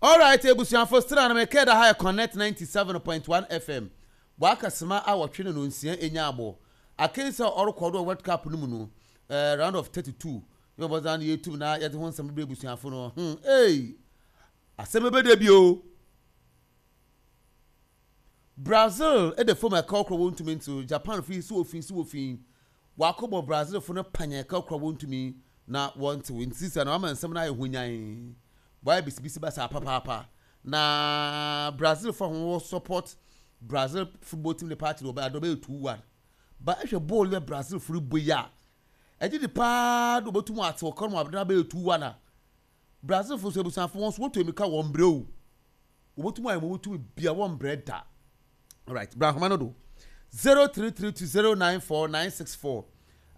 Alright ebusuafo still na mekɛɛ da ha yɛ Connect 97.1 FM. Waka sema a wɔtwe no no nsia enya abɔ. Akansi a ɔrokɔ do wɔ World Cup no mu no, eh, round of 32. Yɛbɛbɔ dza na yetum na yɛdze ho nsɛm bebrɛ ebusuafo no. Hmm, ei! Asɛm bɛbɛda bio. Brazil da fam a ɛkaw kora wɔntumi ntew. Japan fo yi si wɔ fi si wɔ fi. Wɔakɔbɔ Brazil fo no panyan ɛkaw kora wɔntumi na wɔntew. Nti sɛ na wɔama nsɛm no ayɛ hwanyann. Wɔayɛ bisibisi basaa papaapa. Na Brazil fo a wɔwɔ support Brazil football team ne party no wɔbɛyɛ ade wɔbɛyɛ 2-1. Ba ɛhwɛ bɔɔl yɛ Brazil fo rebɔ yi a, ɛgye di paa na wɔbɛtum atew ka no ma abɛyɛ 2-1 a. Brazil fo nso abusuafo wɔn nso wɔtu mmirika wɔn mbrɛ o. Wɔbɛtum ayɛ ma wɔbɛtum bia wɔn mbrɛ da. Alright, bra ahoma no do. 0332094964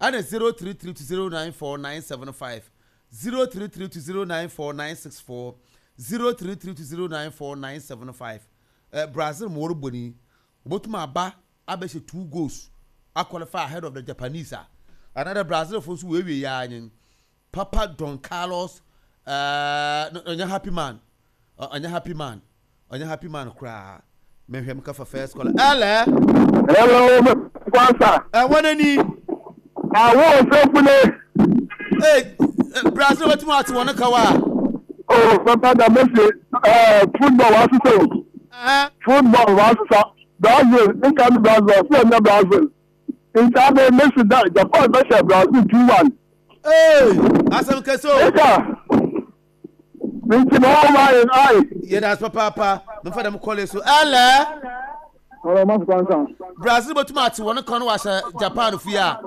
ɛna 0332094975 0332094964 0332094975 eh, Brazil ma wɔrebɔ ni wɔbɛtum aba abɛhyɛ two goals aqualify ahead of the Japanese a another Brazil fo nso wɔawie yɛ anyen Papa Don Carlos eh, no, ɔnyɛ happy man. Ɔnyɛ happy man. Ɔnyɛ happy man koraa. Mehwɛ mka fa first caller. Ɛlɛ. Hello, Kwansa. Ɛwɔ n'ani. Awo osefune. Ee, Brazil bɛtumi ate wɔn kawa. Oh, papa da mese, eh, football wa sisa o. Football wa sisa. Brazil, nka mi Brazil, ɔsɛ ɛnyɛ Brazil. Nti abɛ mesi da Japan bɛhyɛ Brazil 2-1. Ee, asɛm kɛse o. Eka, nti na ɔma yɛn ae. Yɛda ase papaapa. Memfa dɛm kɔle so. Ɛlɛ. Ɔlɔ ma kwansa. Brazil bɛtumi ate wɔn kan wahyɛ Japan fie a.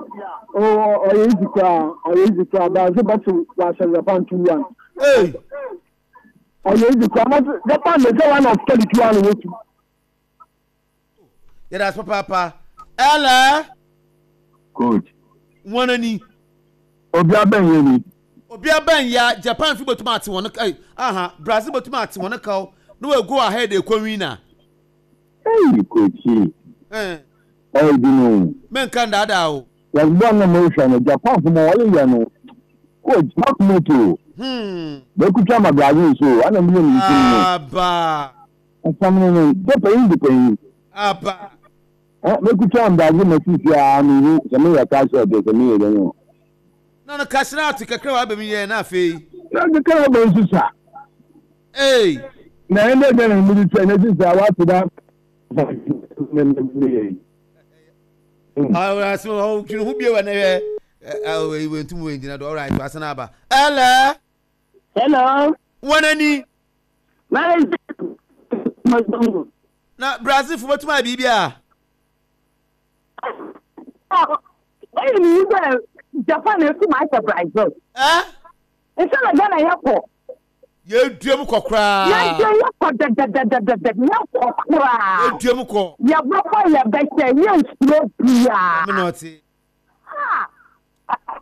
Oh, ɔyɛ easy koraa, ɔyɛ easy koraa. Brazil bɛte wahyɛ Japan 2-1. Ee. Ɔyɛ easy koraa. Japan de sɛ one of 32 ano wɔtu. Yɛda ase papaapa. Ɛlɛ. Coach. Wɔn ani. Obi abɛn yɛ ni. Obi abɛn ya Japan fi botum ate wɔn ɛy aha Brazil botum ate wɔn kaw na wɔ go ahead ekɔ win a. Hey coach. Ɛn. Ɔyɛ di no. Mɛnka ndaadaa o. Yɛn bɔ no mo hwɛ no Japan fo mo wɔyɛ yɛ no. Coach makumuto o. Hmm. Mekutwa ma Brazil so ana mi yɛ mi ti mu. Aba. Asɛm no no, sɛ panyin de panyin. Apa. Ɛ mekuta ndadze ma sisi a mehu sɛ meyɛ cash out sɛ meyɛ dɛn o. Na no cash out kakra wɔ abɛm yɛ na afei. Na kakra wɔ abɛm sisa. Ee. Na ɛnɛ dɛn na mede tua na sisi a wate da meyɛ yi. Asɛm ɔtwene ho bio ɛnɛ hwɛ ɛwɛ ntum wɔ ngyina do alright wasan aba. Ɛlɛ. Hello. Wɔn ani. Na Brazil fo bɛtumi ayɛ biribi a. Ɛyɛ mi sɛ Japan etu ma ayɛ Brazil. Ɛ. Nsa na Ghana yɛ kɔ. Yɛ dua mu kɔ koraa. Yɛ dua yɛ kɔ dɛdɛdɛdɛdɛ yɛ kɔ koraa. Yɛ dua mu kɔ. Yɛ bɔ kɔ yɛ bɛ hyɛ yɛ nsuro biara. Ɛmi na ɔte.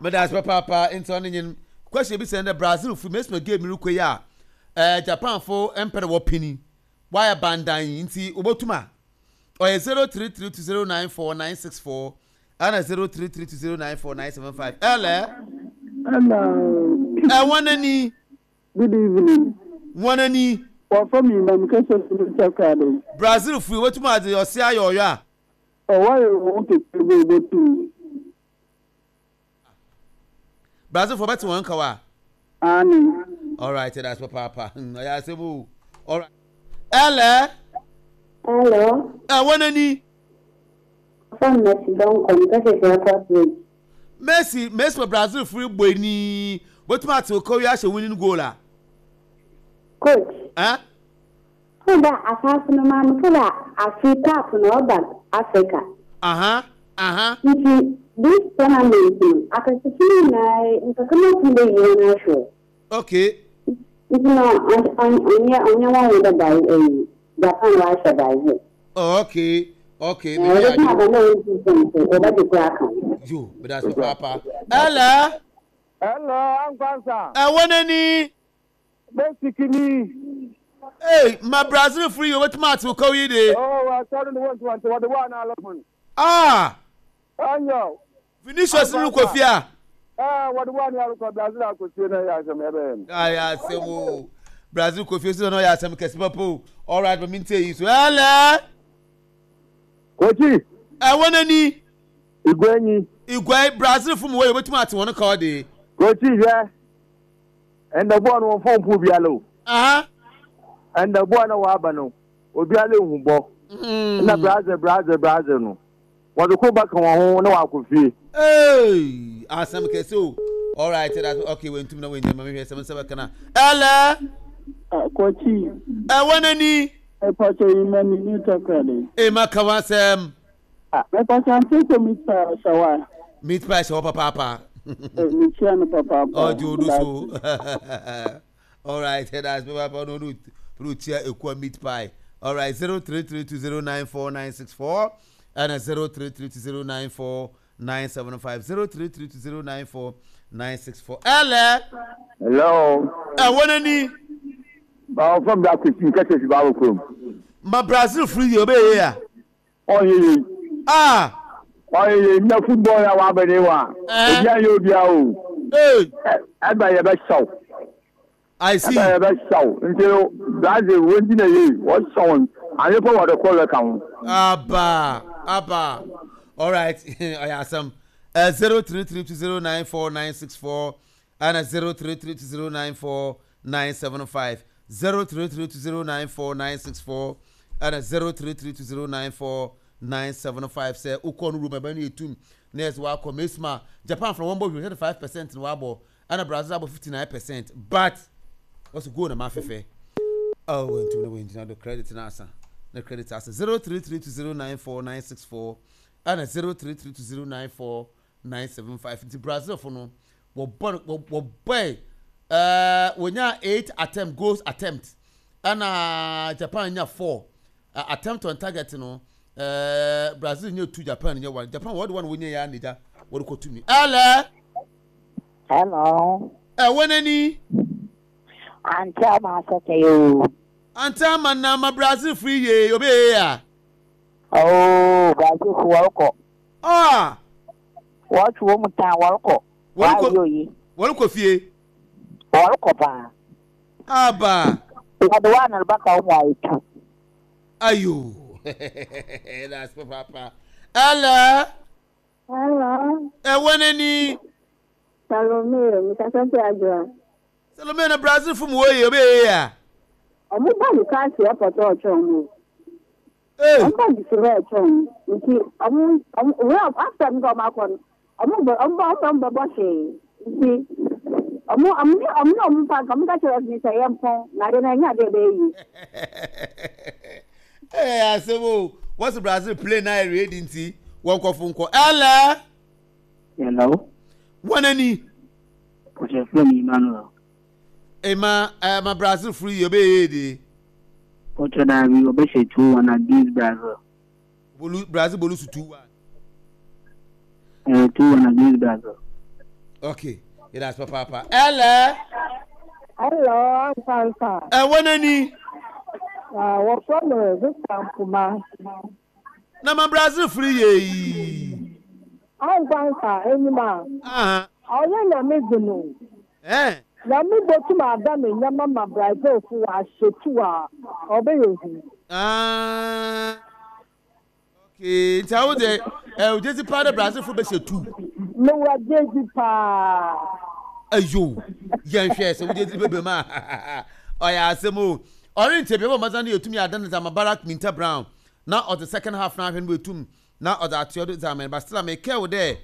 Meda ase papaapa nti ɔne nyen question bi sɛ ndɛ Brazil fo mesma game rekɔ yi a eh, Japan fo mpɛ dɛ wɔpini wɔayɛ bandan yi nti wɔbɛtum a ɔyɛ 0332094964 ɛna 0332094975 ɛlɛ Hello. ɛwɔn ani Good evening. Wɔn ani. Wɔfrɛ me Imam Kɛsɛ firi Takoradi. Brazil fo yi wɔbɛtum adze ɔse ayɛ ɔyɔ a. Ɔware wo ho kɛkɛ bi obotum. Brazil fo bɛte wɔn nka wa. Aane. Alright, that's papaapa. Hmm, ɔyɛ asɛm o. Alright. Ɛlɛ. Hello. Ɛwɔ n'ani. Fam Messi dɔnkɔ mpɛ sɛ sɛ ɛkɔ bridge. Messi, Messi wɔ Brazil fo bɔ ani. Botumi ate okɔ wi ahyɛ winning goal a. Coach. Eh? Hu dɛ asaase no maa mekã dɛ afe cup no ɔba Africa. Aha, aha. Ntsi this tournament no akɛsefo no nyina nkakramba tum beyi hɔn ahwɛ. Okay. Ntsi no ɔnnyɛ ɔnnyɛ nwanwa dɛ Brazil Japan wɔahyɛ Brazil. Oh, okay, okay. Eh, wɔbɛtumi aba na wɔn nso wɔbɛgye koraa aka ho. Yo, meda ase papaapa. Hello. Hello, Ankwansa. Ɛwɔ n'ani. Mesikini. Ei, ma Brazil firi yi, obetumi ate wo kaw yi de. Oh, asɔre no wɔnti wɔnti wɔde wɔn alɔfon. Ah! Anyo. Vinicius no kɔ fie a. Eh, wɔde wɔn alɔfon Brazil akɔsie na ɛyɛ asɛm ɛbɛyɛ no. Ayɛ asɛm o. Brazil kɔ fie so na ɔyɛ asɛm kɛse papa o. Alright, ma mentie yi so. Hello. Kochi. Ɛwɔ n'ani. Iguanyi. Iguai Brazil fo mu wɔ yɛ obetumi ate wɔn ka ɔde. Kochi hwɛ. Ɛnna bɔɔl no wɔn fɔn pool biara o. Ɛnna bɔɔl no wɔaba no obiara ehu bɔ. Ɛnna Brazil Brazil Brazil no wɔde ko ba ka wɔn ho na wɔakɔ fie. Hey, asɛm kɛse o. All right, that's okay. Wɛntum na wɛnyɛ ma mehwɛ sɛm sɛ bɛka na. Ɛlɛ. Kochi. Ɛwɔ n'ani. Ɛpɔtɔ yi ma mi ni tɔkra de. Ema ka wɔn asɛm. Ah, mepɛ sɛ ante sɛ meat pie ɔhyɛ hɔ a. Meat pie hyɛ hɔ papaapa. Mekyia no papaapa. Ɔgye odo so. All right, that's papaapa no no no kyia ekua meat pie. All right, 0332094964 and 0332094975 0332094964. Ɛlɛ. Hello. Ɛwɔ n'ani. Báwo fam da kwesi nkɛse si báwo kurom. Ma Brazil firi yie ɔbɛyɛ yie a. Ɔnyɛ yei. Ah! Ɔnyɛ yei. Nnɛ football yi a waba ni wa. Eh. Obi anyɛ obi a o. Hey. Ɛba yɛ bɛ hyɛw. I see. Ɛba yɛ bɛ hyɛw. Nti Brazil wɔn ti na yei. Wɔn hyɛ wɔn. Anyi pɔ wɔde kɔ lɛ ka ho. Aba. Aba. All right. Ɔyɛ asɛm. 0332094964 ɛna 0332094975, 0332094964 ɛna 0332094975 sɛ wokɔ no room ɛbɛn no yɛ tum na yɛ sɛ wakɔ mesma Japan fana wɔn bɔ hwɛ 35% na wabɔ ɛna Brazil abɔ 59% but wɔsɛ goal na ma afɛfɛ oh wɔntumi na wɔngyina do credit na asa na credit asa 0332094964 ɛna 03320949 975 nti Brazilfo no wɔbɔ wɔbɔe ɛɛ wɔnya 8 attempt goals attempt ɛna Japan nya 4 attempt on target no ɛɛ Brazil nya 2 Japan nya 1 Japan wɔde 1 wɔnya yɛ anigya wɔde kɔ tumi ɛlɛ. Hello. Ɛwɔ n'ani. Ante ama asɛsɛ yoo. Ante ama na ama Brazil firi yie obe yie a. Oh, Brazil fo wɔrekɔ. Ah. Wɔtwe wɔn mu tan wɔrekɔ. Wɔrekɔ Wɔayɛ oyi. Wɔrekɔ fie. Wɔrekɔ paa. Aba. Wɔde wɔn ano bɛka wɔn ayɛ tu. Ayo. That's papa. Hello. Hello. Ɛwɔ n'ani. Salome, mekasa fi Adwoa. Salome na Brazil fo mu wɔ yie ɔbɛyɛ yie a. Ɔmo ba ne kaa si airport a ɔtwɛn ɔmo. Hey. Ɔmo ba de si hɔ ɛtwɛn ɔmo. Nti ɔmo ɔmo wei after nka ɔmo akɔ no ɔmo bɔ ɔmo bɔ ɔmo bɛbɔ hwee. Nti ɔmo ɔmo ne ɔmo ne ɔmo mpa nka ɔmo ka kyerɛ ɔmo sɛ yɛn pɔn na ade no ɛnyɛ ade ɛbɛyɛ yie. Ɛyɛ asɛm o. Wɔsi Brazil plane na ayɛ ready nti wɔn kɔfo nkɔ. Ɛlɛ. Hello. Wɔn ani. Wɔkyerɛ me Emmanuel. Ema eh, ma Brazil furu yi ɔbɛyɛ yie de. Wɔkyerɛ daabi ɔbɛhyɛ 2-1 against Brazil. Bolu Brazil bolu so 2-1. Eh, 2-1 against Brazil. Okay, it has papaapa. Hello. Hello, Ampansa. Ɛwɔ n'ani. Ah, wɔfrɛ me Victor Mpoma. Na ma Brazil firi yie yi. Ampansa enyim a. Ɔyɛ Nyame dzen o. Nyame botum ada ne ndzɛmba ma Brazilfo wɔahyɛ tuw a, ɔbɛyɛ hu. Ah, okay. Nti awo de, eh, o gyedzi paa dɛ Brazilfo bɛhyɛ tuw. Mewɔ gyedzi paa. Ayo, yɛnhwɛ sɛ wo gyedzi bɛbɛ mu a. Ɔyɛ asɛm o. Ɔrenkyɛ bi, ɛbɔ mmɔden na yɛtumi adan dza ma Barak Minta Brown na ɔdze second half no ahwɛ no oetum na ɔdze atoa do dze ama no but still a mekɛɛ wo dɛ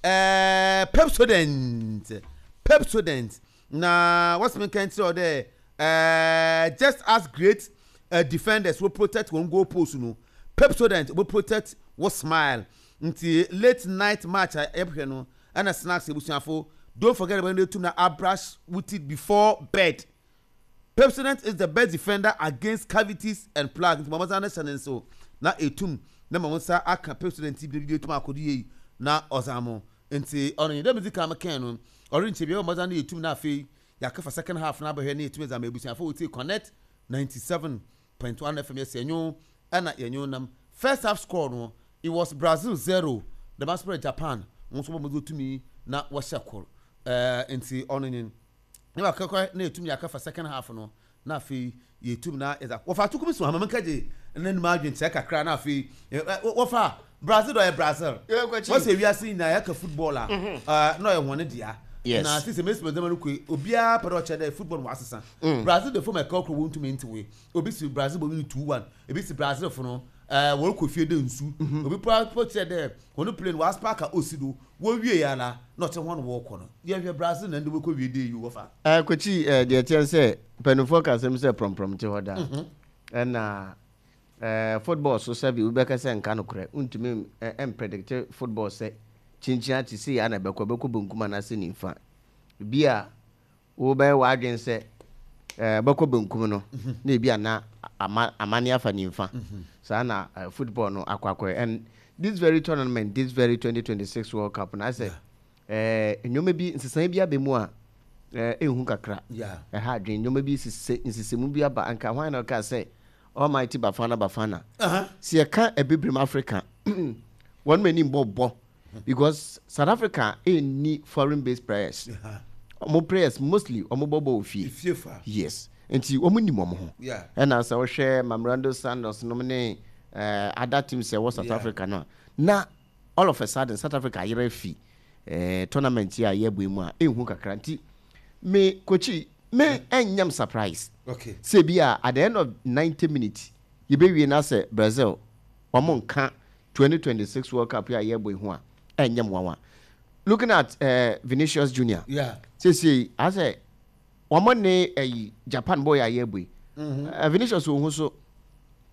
eh, Pepsodent Pepsodent na wɔse menka nkyerɛ wo dɛ eh, just as great eh, defenders wo protect wɔn goal post no Pepsodent wo protect wo smile nti late night match a yɛhwɛ no ɛna snacks ebusuafo don't forget about etum na abrush wo teeth before bed Pepsodent is the best defender against cavities and plaque nti bɔ mmɔden na hyɛ ne nsew na etum na ma wo nsa aka Pepsodent yi biribi etum akɔdo yie na ɔdze mo nti ɔno nye dɛ medzi kan mekɛn no ɔrenkyɛ biara bɔ mmɔden na yɛtum na afei yɛakɛfa second half no abɛhwɛ na yɛtum dze ama ebusuafo wotsie Connect 97.1 FM yɛsɛ yɛnye ɛna yɛnye nam first half score no it was Brazil 0 dɛm asopɛ Japan wɔn nso bɔ mmɔden otumi na wɔhyɛ kor ɛɛ nti ɔno nye ne wakɛkɔ na yɛtum yɛakɛfa second half no. Na afei yeetum na yɛdze akɔ. Wɔfa atoko bi so hama menkɛgye n'anum adwenkyerɛ kakra na afei wɔfa Brazil dɛ ɔyɛ Brazil. Wɔsɛ wiase nyinaa yɛka football a na ɔyɛ hɔn dea. Na sisi mesi ma ndzɛmba no kɔ yi obiara pɛ dɛ ɔkyerɛ dɛ football no wɔasesa. Brazil de fam ɛka kor wontum nntewee. Obi se Brazil bɔ win 2-1, ebi se Brazil fo no wɔrokɔ fie dɛ nsu. Obi po kyerɛ dɛ hɔn plane wɔaspark a osi do, wowiei ara na ɔkyerɛ hɔn wɔrokɔ no. Yɛhwɛ Brazil na ndɛ woekowie dɛ yi o wɔfa. Kwakyi, deɛ ɛteɛ ne sɛ mpanimfoɔ ka asɛm sɛ prɔmprɔm te hɔ daa. Ɛna football so sɛbi wobɛka sɛ nka nokorɛ, wontumi mpredicte football sɛ kyinkyin akye sei ara na ɛbɛkɔ, ɛbɛkɔ benkum anaasɛ nimfa. Bi a wobɛyɛ w'adwene sɛ ɛbɛkɔ benkum no na ebi a na ama amane afa nimfa. Saa na football no akɔ akɔyɛ. And this very tournament, this very 2026 World Cup no ayɛ sɛ Nneɛma bi, nsesaeɛ bi aba mu a, ɛnhu kakra. Ɛha adwene. Nneɛma bi sisɛ, nsesɛmu bi aba. Anka hwan na ɔkaa sɛ Almighty Bafana Bafana. Sɛ yɛka Abibirem Africa, wɔn ani mbɔ bɔ because South Africa nni foreign based players. Wɔn players mostly wɔn bɔ bɔ wɔ fie. Yes. Nti wɔn nim wɔn ho. Ɛna sɛ wohwɛ Mamelodi Sundowns nom ne other teams ɛwɔ South Africa no a, na all of a sudden South Africa ayera afi eh, tournament yi a yɛbɔ yi mu a ɛnhu kakra nti me kochi me ɛnyɛ m surprise okay. sɛ bi a at the end of 90 minutes yɛbɛwie na sɛ Brazil wɔn nka 2026 World Cup yi a yɛbɔ yi ho a ɛnyɛ m nwanwa looking at eh, Vinicius Junior yeah. sɛsei asɛ Wɔn ne ɛyi Japan bɔɔl yi a yɛrebɔ yi. Mm-hmm. Vinicius ohu so.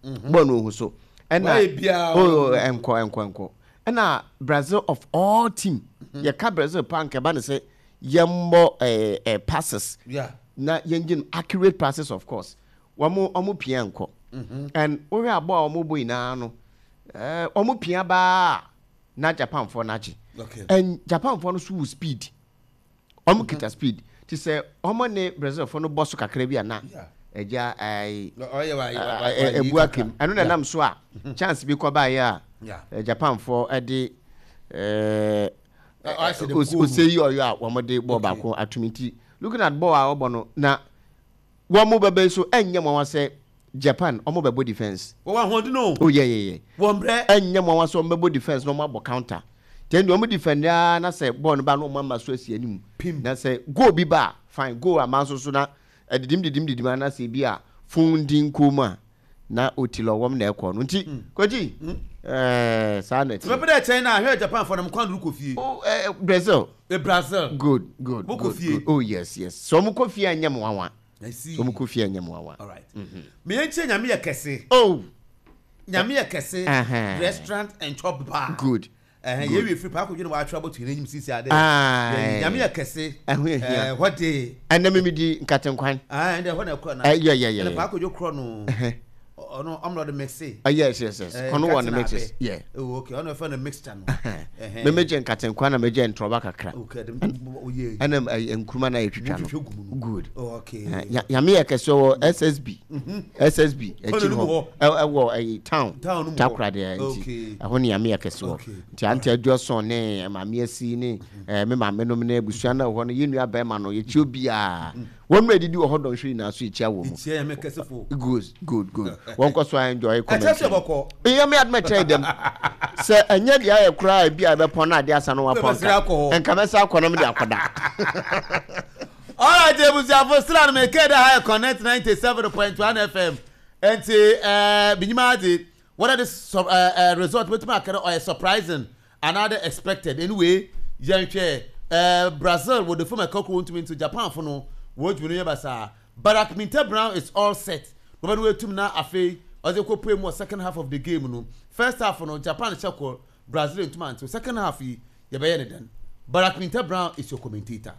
Mm-hmm. Bɔɔl no ohu so. Ɛna oh ɛnkɔ ɛnkɔ ɛnkɔ. Ɛna Brazil of all team. Mm-hmm. Yɛka Brazil paa nka ɛba ne sɛ yɛmmɔ ɛɛ ɛɛ passes. Yeah. Na yɛngye no accurate passes of course. Wɔn wɔn pia nkɔ. And wohwɛ abɔ a wɔn bɔ nyinaa no ɛɛ wɔn pia baa na Japanfoɔ no agye. Okay. And Japanfoɔ no so wɔ speed. Wɔn kita speed ti sɛ wɔn ne Brazil fo no bɔ so kakra bi a na ɛgya ɛɛ ɛbu akem ɛno na ɛnam so a chance bi kɔ baayɛ a Japan fo ɛde ɛɛ oseyi ɔyɔ a wɔn de bɔɔl baako atum nti looking at bɔɔl a wɔbɔ no na Wɔn mo bɛbɛ nso ɛnyɛ nwanwa sɛ Japan wɔn bɛbɔ defense. Wɔwɔ ahoɔden o. Oh yeah yeah yeah. Wɔn brɛ. Ɛnyɛ nwanwa sɛ wɔn bɛbɔ defense na wɔn abɔ counter. Tɛn deɛ wɔn defend ara na sɛ bɔɔl no ba na wɔn ama so asi anim. Pim. Na sɛ goal bi ba a fine goal ama nso so na ɛdidim didim didim ara na sɛ ebi a fon di nko mu a na oti lɔ wɔm na ɛkɔ no nti Kwakyi ɛɛ saa na ɛteɛ. Sɛ bɛpɛ dɛ kyɛn na ahwɛ Japan fo na mo kwan do kɔ fie. Oh ɛɛ Brazil. E Brazil. Good good Mo kɔ good fie. good oh yes yes sɛ wɔn kɔ fie a ɛnyɛ mo nwanwa. I see. Sɛ wɔn kɔ fie a ɛnyɛ mo nwanwa. All right. Me yɛn kyerɛ Nyame yɛ kɛse. Oh. Nyame yɛ kɛse. Uh-huh. Restaurant and chop bar. Good. Ɛhɛn Good. yɛwie firi paako dwene wɔatwerɛ abɔto yɛn anim sisi ade. Aye. Nyame yɛ kɛse. Ɛho yɛ hia. Ɛɛ hɔ de. Ɛnna mi mi di nkatenkwan. Ah ɛnna ɛhɔ na ɛkorɔ na. Ɛ yɛ yɛ yɛ. Ɛnna paako dwo korɔ no. Ɛhɛn. Ɔno ɔmo na ɔde mixe. Uh, yes yes yes. Ɔno wɔ ne mixes. Yeah. Oh okay ɔno ɛfɛ no mixture no. Me megye nkatenkwan na megye ntorɔba kakra. Okay ɛdɛm oyɛ. Ɛna nkuruma na yɛtwitwa no. Twitwa gu mu no. Good. Oh okay. Nyame yɛ kɛse wɔ SSB. SSB akyiri hɔ. Ɛwɔ ɛyi town. Town no mu hɔ. Takoradi nti. Ɛhɔ ne Nyame yɛ kɛse wɔ. Nti Auntie Aduoson ne Maame Asi ne me maame nom ne abusua no wɔ hɔ no yɛn nua bɛrima no yɛkyia obiara. Wɔn mu adidi wɔ hɔ dɔnhwere nyinaa so yɛkyia wɔn mu. Yɛkyia Nyame kɛsefo. Good good good. Wɔn kɔ so a enjoy commentary. Ɛkyɛ sɛ bɔkɔ. Nyame adom ɛkyɛ dɛm. Sɛ ɛnyɛ deɛ ayɛ koraa ebi a ɛbɛpɔn na adeɛ asa no wapɔn nka. Nka mɛsa akɔ na mede akɔda. Alright abusuafo sra no mekɛɛ dɛ ha yɛ Connect 97.1 FM nti eh, binyim adze whether this result betumi aka dɛ ɔyɛ surprising Anaadɛ expected anyway yɛnhwɛ eh Brazil wɔ the fam ɛka koro wɔntumi nto Japan fo no wɔn dwuma no yɛ basaa Barak Minter Brown is all set wɔbɛ no wɔatum na afei ɔdze kɔ pue mu wɔ second half of the game no first half no Japan hyɛ kor Brazil ntum antew second half yi yɛbɛyɛ ne dɛn Barak Minter Brown is your commentator.